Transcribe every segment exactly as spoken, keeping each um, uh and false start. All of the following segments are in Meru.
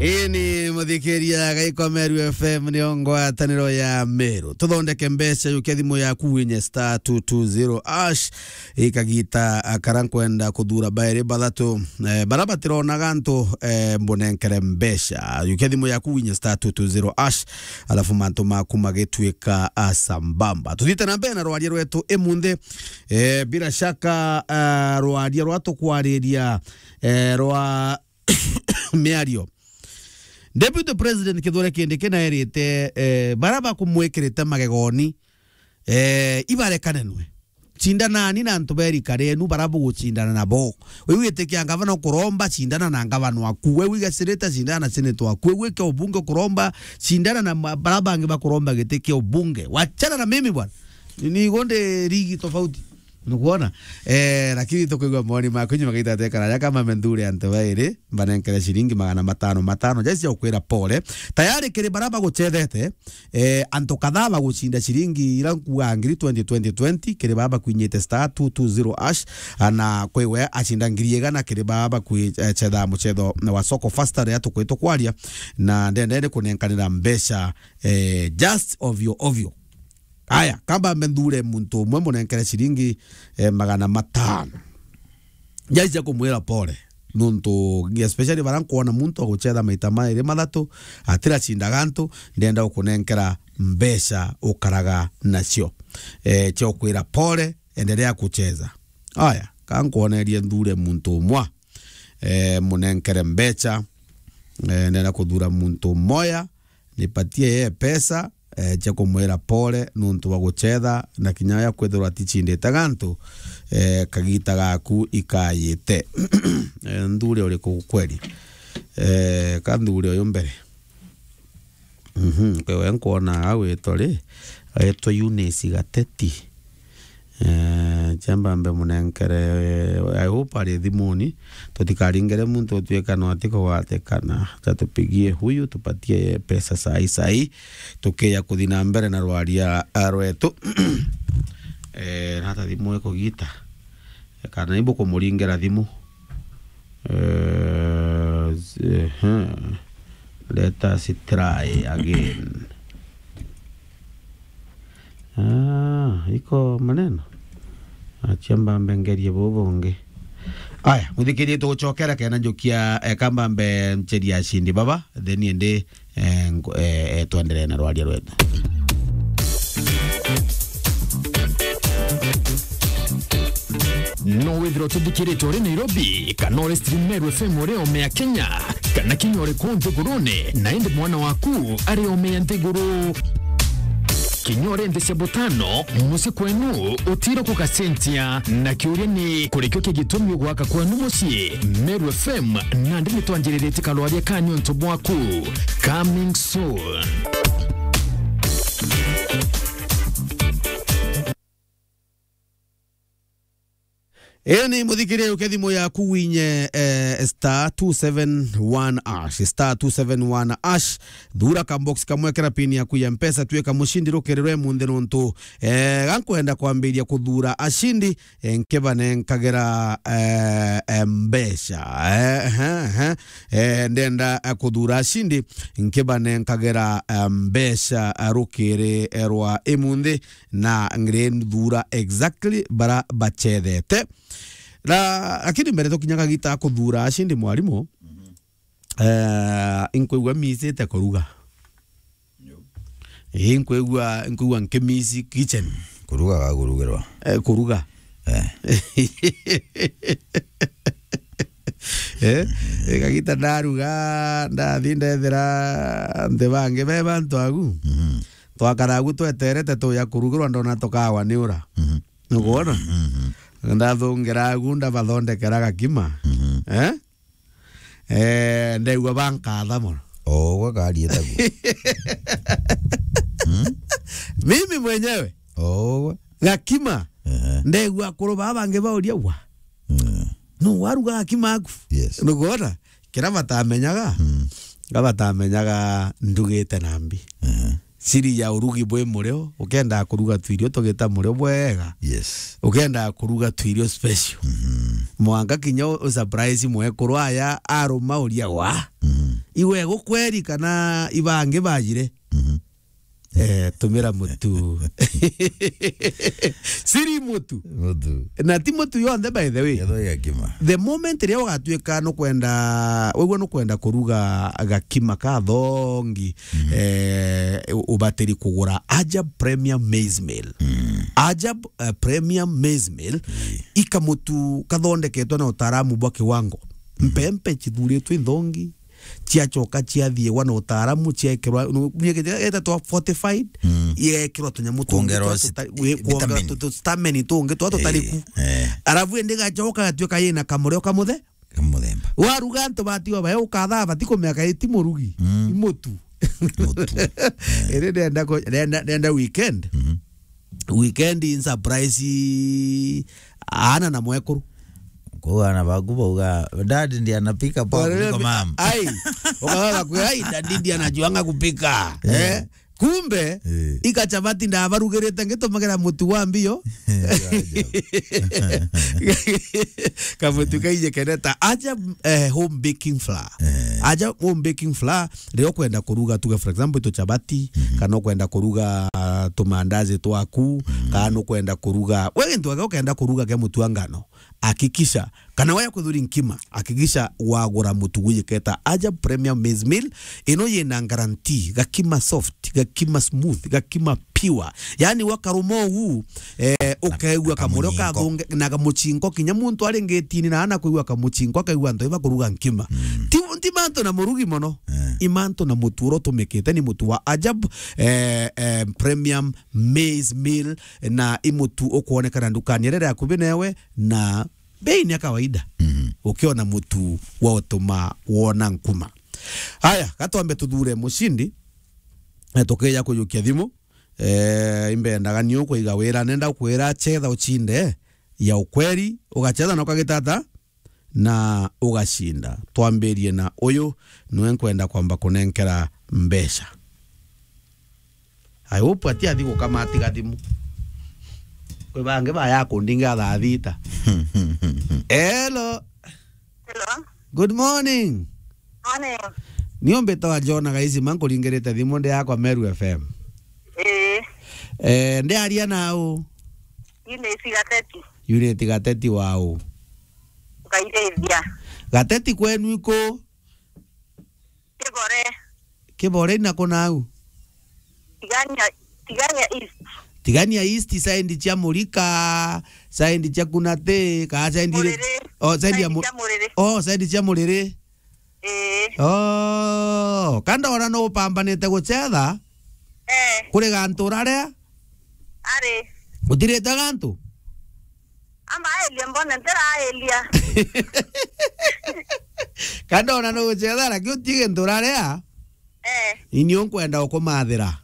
Ii ni muthikiria gaiko Meru F M, niyo ngwataniro ya Meru. Tuthondeke mbeca, yukia thimu yaku winye star two two zero hash. Ikagita, a, kara nkwenda kuthura bairi bathatu, eh, bara batirona gantu, eh, mbunenkere mbeca. Yukia thimu yaku winye star two two zero hash, alafu mantu maku magitwika, a, sambamba. Tuthite na mbere na rwaria rwetu imunthi. Eh, bila shaka, a, rwaria rwa tukwariria, eh, rwa miario. Deputy President Kithure Kindiki naerite, eh, bara bakumwikirite magegoni, eh, ibarekanenwe. Cindanani na antu ba irika rienu bara bugucindana nabo. We witikia ngavana ukuromba, cindana na ngavana waku. We wiga senator, cindana na senator waku. We wike ubunge ukuromba, cindana na ma-, bara bangi bakuromba giti kia ubunge. Wachana na mimi bwana. Ni, ni igo ndi ligi tofauti. Nukuona? Eh, lakini tukwigua mawoni maku nyuma gaita tekana. Yaka mame nthure antu bairi, mbanenkere ciringi magana matano matano. Jai cia gukwira pole. Tayari kiri bara bagucethete, eh, antu kadhaa bagucinda ciringi ira nkuga ngiri twenty, twenty, twenty, kiri bara bakwinyite star two two zero hash, ana kwiwe acinda ngiri igana kiri bara bakwi-, eh, cetha mucetho wa soko faster riria tukwitwo kwaria, na ndendere kunenkanira mbeca, eh, just ovyo ovyo. Aya, kamba mbe nthure muntu umwe munenkere ciringi, eh, magana matano. Jai cia kumwira pole. Nuntu, especially bara nkwona muntu agucetha maita mairi mathatu, atiracinda gantu, ndenda gukunenkera mbeca ukaraga nacio. Eh, cia ukwira pole, endelea kucheza. Aya, ka nkwonerie nthure muntu umwe. Eh, munenkere mbeca. Eh, ndenda kuthura muntu moya, nipatie ye pesa, eh, cia kumwira pole nuntu bwa gucetha, na kinya ya kwithirwa aticindite gantu, eh, kagita gaku ikayite. Eh, nthuri uriku kweli? Eh, ka nthuri uyu mbere. Mhm, kwe we nkwona agwitwa ri, agwitwa Eunice Gateti. Eh, chamba mbe munenkere, eh, I hope ari thimuni, tutikaringere muntu utuika no atikugwatikana. Acha tupigie huyu, tupatie pesa sai sai, tukiya kuthi na mbere na rwaria, ah, rwetu. Eh, nata thimu ikugita? Kana ibu kumuringera thimu? Eh, z-, ehe. Let us try again. Ah, iko maneno? Achia mbambe ngerie bubu bungi. Aya, muthikirie tugucokera kena njukia, eh, kamba mbe ncheria ashindi baba, then ende, eh, nko-, eh, eh, twendelee na rwaria rwetu. No withirwa ututhikiritwe uri Nairobi, kana uri stream Meru F M uri ome ya Kenya, kana kinya uri kuu nthigurune, na indi mwana waku ari ome ya nthiguru. Kinya uri nthi cia butano, mucii kwenu utiro kugacenjia. Na kiuria ni, kurikio ki gitumi ugwaka kwenu mucii? Meru F M, nandi nitwanjiriritie karwaria ka niuntu bwaku. Coming soon. Ii ni muthikirie uke thimu yaku winye, eh, star two seven one hash, star two seven one hash. Thura ka box kamwe, kira pin yaku ya Mpesa, tuika mucindi rukirirwe munthi nuntu, eh, gankwenda kwambiria kuthura ashindi, eh, nkibanenkagira, eh, eh, mbeca. Eh, eh, eh. Eh, ndenda, eh, kuthura ashindi, nkibanenkagira, eh, mbeca, eh, rukiri, eh, rwa imunthi, na ngirithura exactly bara bachethete. Na, lakini mbere tukinya kagita kuthura ashindi mwarimu, eh, inkwigua misite kuruga. Ii, nkwigua, nkwigua nkimisi kitchen. Kuruga ga kurugirwa. Eh, kuruga. Eh. Eh, kagita ndaruga, ndathi ndethira anthi bangi be bantu agu. Mhm. Twakara agu tweterete tuya kurugirwa, ndona tukawa ni ura. Mhm. Nukwona? Mhm. Ndathungira agu, ndabathondekera gakima. Mhm. Eh? Eh, ndegua bankatha mono. O, ugwe karietagu. Hmm? Mimi mwenyewe. O, ugwe. Gakima. Ehe. Ndegua akuru baa bangi bauria wa. Mm. Nu waruga gakima aku? Yes. Nukwona? Kira batamenyaga. Mm. Kira batamenyaga ndugite na mbi. Ehe. Siri ya urugi bwi murio, ukendaa kuruga tuirio tugita murio bwega. Yes. Ukendaa kuruga tuirio special. Mhm. Mwanka kinya u-, u surprise mwekuru aya aruma uria wa. Mhm. Iwe gukweri kana ibangi bajire? Mhm. Eh, tumira mutu. Siri mutu. Mutu. Na ti mutu yonthe, by the way. Yetho ya kima. The moment ria ugatuika nukwenda, wigua nukwenda kuruga gakima ka thongi, mhm, eh, u-, ubatiri kugura Ajab Premium Maize Meal. Mm. Ajab, eh, Premium Maize Meal, ii, ikamutu kathondeketwe na utaaramu bwa kiwango. Mhm. Mpempe chithuritwe inthongi, ciacoka ciathiiwa na utaaramu, ciekirwa, nu-, nu-, etatwa fortified, mm, iekirwa tunyamu tungi kuongerwa twa sit-, tuta-, wi-, kuongerwa vitamini, tu-, tu-, stameni tungi twa tutari ku. Eh, eh. Arabu indi gacoka gatuika yina kamurio kamuthe. Kamuthemba. Waruga antu batiwa bae ukathaa bati kumea kaiti murugi. Mm. Imutu. Mutu. Eh. Iri ndenda ku-, ndenda, ndenda weekend. Mhm. Weekend in surprise ana na mwekuru. Kwa ana baku bauga, "Dad ndiye anapika poa kuliko mom." Ai, ukaga kwe, "Ai, dad ndiye anajuanga kupika." Eh. Eh? Kumbe, eh, ika chapati ndabarugirite ngitumagira mutu wa mbio. Kamutu kaije keneta. Aja, eh, home baking flour. Eh. Aja home baking flour, riria ukwenda kuruga, tuge for example, tu chapati, mhm, kana ukwenda kuruga, ah, tumandazi twaku, mhm, kana ukwenda kuruga, we gintu gaka ukenda kuruga kia mutu wa ngano, hakikisha, kana we kuthuri nkima, hakikisha wagura mutu gwijiketa Ajab Premium Maize Meal, ino yina guarantee, gakima soft, gakima smooth, gakima pure. Yani wakaruma uu, eh, na ukaigua kamurio kamunyinko. Kathunge, na kamuchinko, kinya muntu ari ngitini na ana kuigua kamuchinko, akaigua antu iba kuruga nkima. Mm. Ti, ti mantu na murugi mono. Eh. I mantu na mutu uria utumikite ni mutu wa Ajab, eh, eh, Premium Maize Meal, na i mutu ukwonekana ndukani iria iri akubi newe na bei ni ya kawaida. Mhm. Ukiona mutu wa utuma wona nkuma. Haya, gatwambe tuthure mucindi, eh, tukija kujukia thimu. Eh, imbendaga ni ukuiga wira, nenda kwira chetha uchinde ya ukweri, ugachetha na ukagitata na ugacinda. Twambirie na uyu, niwe nkwenda kwamba kunenkera mbeca. I hope ati athi gukama atiga thimu. Kwi bangi baya kundinga thaa thita. Hello. Hello. Good morning. Morning. Ni umbitawa John Gaisima, nkuringirite thimu ndi yakwa Meru F M. Ii. Eh, ndi aria nau? Unity Gateti. Unity Gateti wau? Ukairithia. Gateti kwenu iku? Kibore. Kibore ina ku nau? Tigania, Tigania East. Tigania East, side cia Murika, side cia Kunate, ka side ri-, Muriri. Oh, side ya Side Mu-, cia Muriri. Oh, side cia Muriri. Ii. Oh, kandora no upambanite gucetha? Eh. Kuri gantu uraria? Ari. Utirite gantu? Amba elia mbone ntiraelia. Kandona nugucetha, lakini utige nturaria. Eh. Inio nkwenda ukumathira.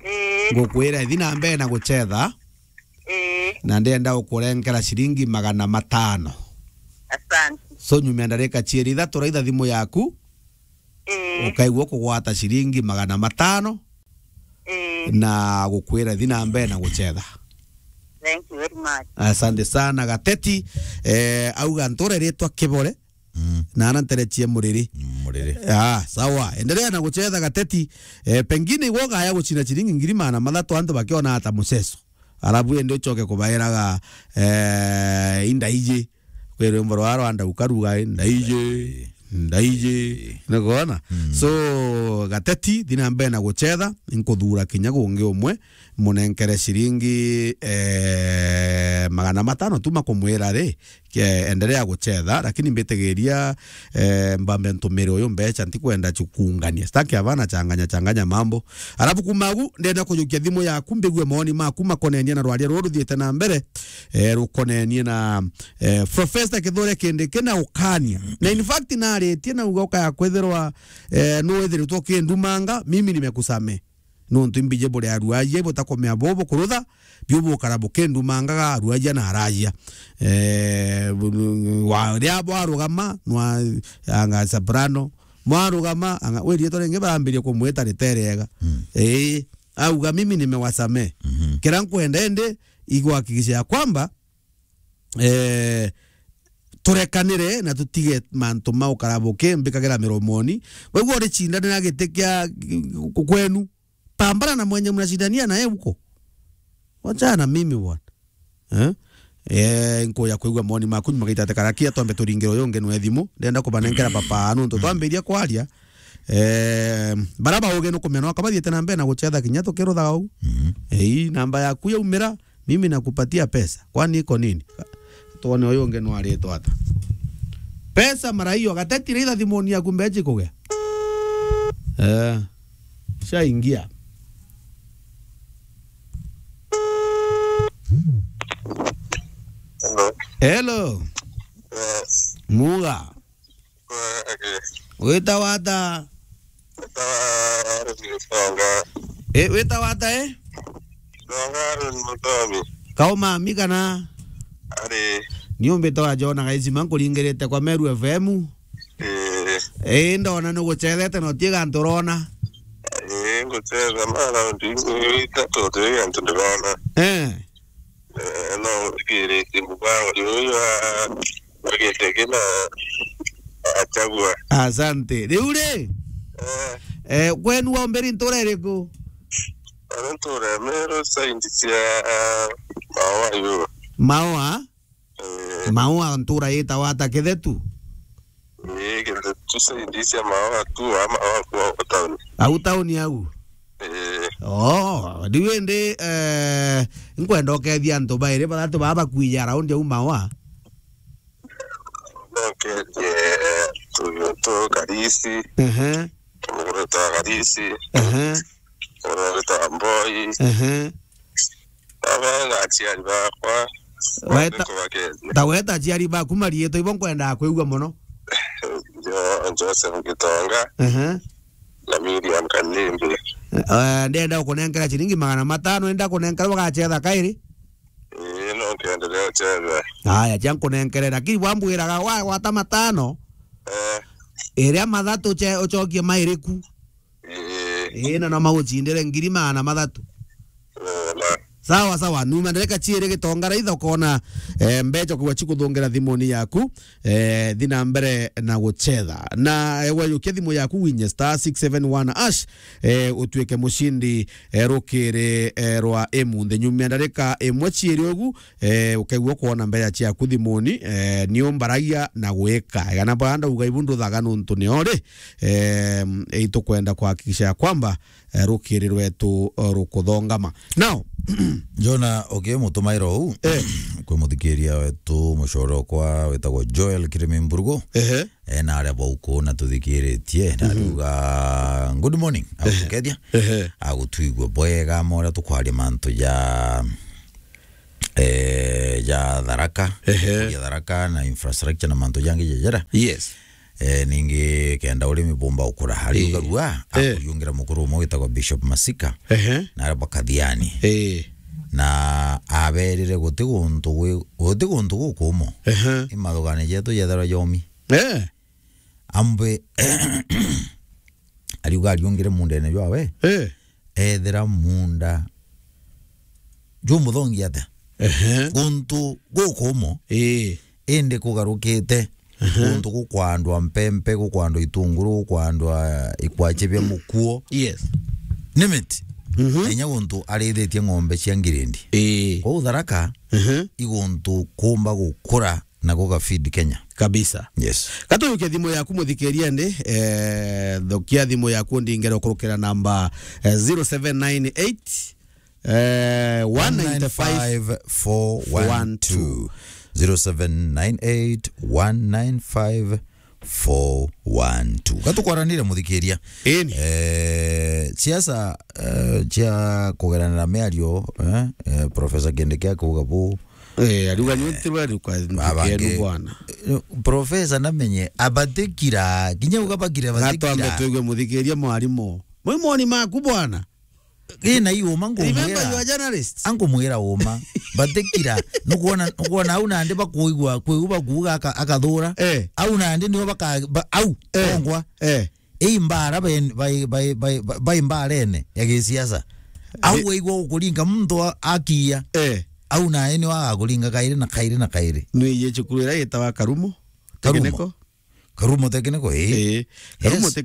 Eh. Ngukwira ithi na mbere na gucetha. Eh. Na ndenda ukurenkera ciringi magana matano. Asante. So nyuma ndarika cieri ithatu raitha thimu yaku. Eh. Ukaigua kugwata ciringi magana matano. Eh. Na gukwira thi na mbere na gucetha. Thank you very much. Asante sana Gateti. Eh, auga ntura iritwa Kibore. Mm. Na ana nterechie Muriri. Mm, Muriri. Ah, sawa. Endelea na gucetha Gateti. Eh, pengine igwo gaya gucina ciringi ngiri magana mathatu antu bakiona ata muceso. Arabu ende ucoke kubairaga, eh, indaiji. Kwi rwimbo rwa Rwanda ukaruga, "Ndaiji, ndaiji." Ndaiji. Nikuona? Mm. So, Gateti, thi na mbere na gucetha, nkuthura kinya gungi umwe, munenkere ciringi, eh, magana matano tu makumwira ri, ke-, endelea gucetha, lakini mbitigiria, eh, mbambe ntumire uyu mbeca, ntikwenda chukungania. Sitaki abana changanya, changanya mambo. Alafu kuma agu, ndenda kujukia thimu yaku, mbigue mawoni maku makonenie na rwaria ruru ruthiite na mbere, eh, rukonenie na, eh, Professor Kithure Kindiki na ukania. Na in fact, naritie na uga ukaya kwithirwa, eh, nuwithiritwe ukindumanga, mimi nimekusamehe. Nontu imbiji buri aruaji, butakomea bobo kurutha, biu bukara bukindumangaga aruaji na araji. Eh, bu-, wa-, ria bwarugama, nwa, anga soprano, mwarugama, anga, we rietwa ringi barambirie kumwita riteriega. Mm. Ii, auga, "Mimi nimewasamehe." Mhm. Kira nkwenda indi, iguhakikisha ya kwamba, eh, Turekanire na tutige mantu ma ukarabuki mbikagira miromoni. Waigua uricindanira giti kia kwenu. Pambana na mwenye mnashindania naye huko. Wachana na mimi bwana. Eh? Eh, nkuya kwigua moni maku nyuma gaitate karakia twambe turingire uyu ungi nwe thimu. Ndenda kubanenkera papa nuntu twambiria kwaria. Eh, bara bauge nukumenya no kabathiete na mbere na guchetha kinya tukiruthaga u. Mhm. Eh, namba yaku yaumira, mimi nakupatia pesa. Kwani iko nini? Tuone uyu ungi no aritwa ata. Pesa mara hiyo, gatetire itha thimuni yaku mbechi kugia. Eh. Shaingia. Hello. Hello. Yes. Muga. Eh, okay. Wita wata? Wita wa Aaron Mutonga. Eh, wita wata, eh? Mutonga Aaron Mutomi. Kauma mi kana? Ari. Ni umbite wa Jona Gaisima nkuringirite kwa Meru F M. Eh. Eh, ndona nugucethete na utie gantu urona. Eh, ngucetha ma round itatu tu gantu ndirona. Eh. Eh, no, ngirite mubango uyu wa, wa giti kina achagua. Asante. Riu ri, eh, eh, kwenu wa mbere ntura iriku? Ari ntura Meru side cia, ah, Maua yu. Maua? Eh. Maua ntura yitawa ata Kithetu? Ii, Kithetu side cia Maua tu, ama Maua kwa town. Au town au? Ii. Oh, riu indi, eh, nkwenda ukethia antu bairi bathatu baba bakwija around au Maua. Nokethie, eh, tu, tu Karisi. Ehe. Muguru ta Karisi. Ehe. Muguru ta Mboi. Ehe. Aba na aciari bakwa. Weta, nkubakeethia. Ta weta aciari baku mariitwa ibo nkwendaa kwigua mono. Jo-, Joseph Gitonga. Ehe. Na Miriam Kanimbi. Eh, ndenda gukunenkera ciringi magana matano, enda kunenkera ugacetha kairi? Ii, no nkiendelea gucetha. Aya, cia nkunenkere, lakini wambwiraga wa, wata matano, eh, iria mathatu uce-, ucokie mairiku? Ii. Ii, na no magucindire ngiri magana mathatu. Ii, na. Sawa, sawa. Numa ndereka ciiri Gitonga raitha ukona, eh, mbeca kugwa cikuthungira thimuni yaku, eh, thi na mbere na gucetha. Na, eh, wayukia thimu yaku winye star six seven one hash, eh, utuike mucindi, eh, rukiri, eh, rwa imunthe. Nyumia ndarika imwe ciiri ugu, eh, ukaigua kwona mbeca ciaku thimuni, eh, ni umbaragia na gwika. Igana baa ndauga ibu nduthaga nuntu ni ori, eh, itukwenda kuhakikisha ya kwamba, eh, rukiri rwetu, eh, rukuthongama. Now, Jona, ukimutumaira uu, eh, kwi muthikiria wetu, mucore okwa witagwo Joel Kirimi Mburugu. Ehe. Eh, na aria bauku na tuthikiritie, na, mhm, ariuga, "Good morning." Ehe. Agukethia. Ehe. Agutwigua bwega, mora tukwaria mantu ja, eh, ja Tharaka, ehe, ya Tharaka na infrastructure na mantu jangi jejera. Yes. Eh, ningi kenda urimi bumba ukura. Ariuga, eh, rua, eh, akuriungira mukuru umwe witagwa Bishop Masika. Ehe. Na aria bakathiani. Eh. Na aberire guti guntu gwi-, guti guntu gukumo. Ehe. Imathugani jetu jetharwa jomi. Eh. Ambe ariuga ariungire mundene jwawe. Eh. Ethira munda jumuthongi atia? Ehe. Guntu gukumo. Eh. Indi kugarukite. Ehe. Guntu gukwandwa mpempe, gukwandwa itunguru, gukwandwa ikwache bia mukuo. Yes. Name it. Mhm. Na inya guntu arithitie ng'ombe cia ngirindi. Eh. Kwou Tharaka, ehe, iguntu kumba gukura na guga feed Kenya. Kabisa. Yes. Gatuyukia thimu yaku muthikiria ndi, eh, thukia thimu yaku ndingere ukurukira namba, eh, zero seven nine eight, eh, one nine five four one two. Zero seven nine eight, one nine five, four one two. Gatukwaranire muthikiria. Ini. Eh, siasa, eh, cia kugeranira miario, eh, eh, Professor Kindiki akuuga bu, eh, ariuga, eh, nyu ntirwa riu kwa abange, ntikenu bwana. Eh, Professor namenye abatikira, kinya uga bakire. Gatwambe batikira. Tuigue muthikiria mwarimu. Mwi moni maku bwana. Ina iuma. Remember, ngumwira, you are journalists. Angumwira uma. Batikira. Nukwona, nukwona au nandi bakuigua, kwiu bakuuga aka-, akathura. Eh. Au nandi nio baka-, ba-, au, eh, kongwa. Eh. Ii mbara ben-, bai, bai, bai, bai, bai mbarene ya gisiasa. Au, eh, waigua ukuringa muntu a-, akiya. Eh. au nae ni wagakuringa kairi na kairi na kairi. Nwiye cukuru iria yitawa Karumo. Karumo. Technical. Karumo Technical, ii. Ii. Karumo Yes.